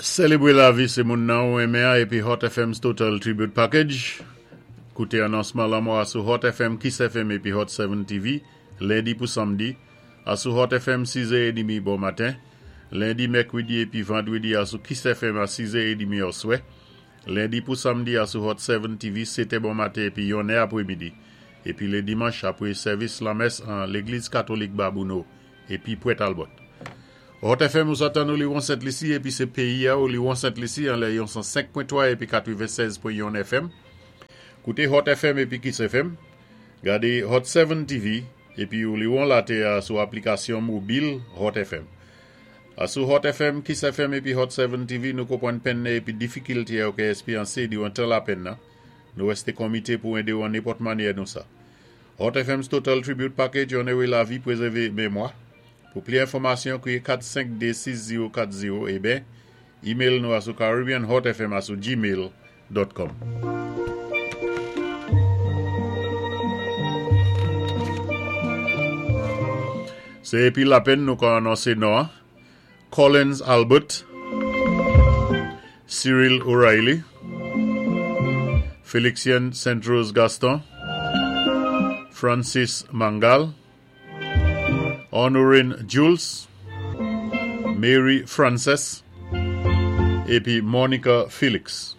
Sélébwé lavi sé moun nan ou enmen an épi Hot FM's Total Tribute Package. Kouté anonsman lanmò a sou Hot FM, Kiss FM épi Hot 7 TV, lendi pou samdi, asou Hot FM 6 è édmi bon maten, lendi, mèkwédi épi vandwédi asou Kiss FM a 6 è édmi oswè, lendi pou samdi asou Hot 7 TV 7 è bon maten épi 1 è apwémidi, épi lé dimanch apwé sèvis lanmès an Légliz Katolik Babouno épi Pwent Albòt. Hot FM ou sa tann ou liwon Sent Lisi épi sé péyi a ou liwon Sent Lisi anlè yon 105.3 épi 96.1 FM. Kouté Hot FM épi Kiss FM. Gadé Hot 7 TV épi ou liwon laté a sou aplikasyon mobil Hot FM. Asou Hot FM, Kiss FM épi Hot 7 TV nou konpwann penn nan épi difikilté a ou ka èspéyansé diwan tan lapenn nan. Nou wèsté konmité pou édé ou an nenpòt mannyè nou sa. Hot FM's Total Tribute Package onoré lavi, pwézèvé mémwa. Pou pli enfòmasyon, kwiyé 452 6040 eben email nou asou caribbeanhotfm@gmail.com. Sé épi lapenn nou ka anonsé non an: Collins Albert, Cyril O'Reilly, Félixien Saint-Rose Gaston, Francis Mangal, Honorine Jules, Mary Frances, épi Monica Felix.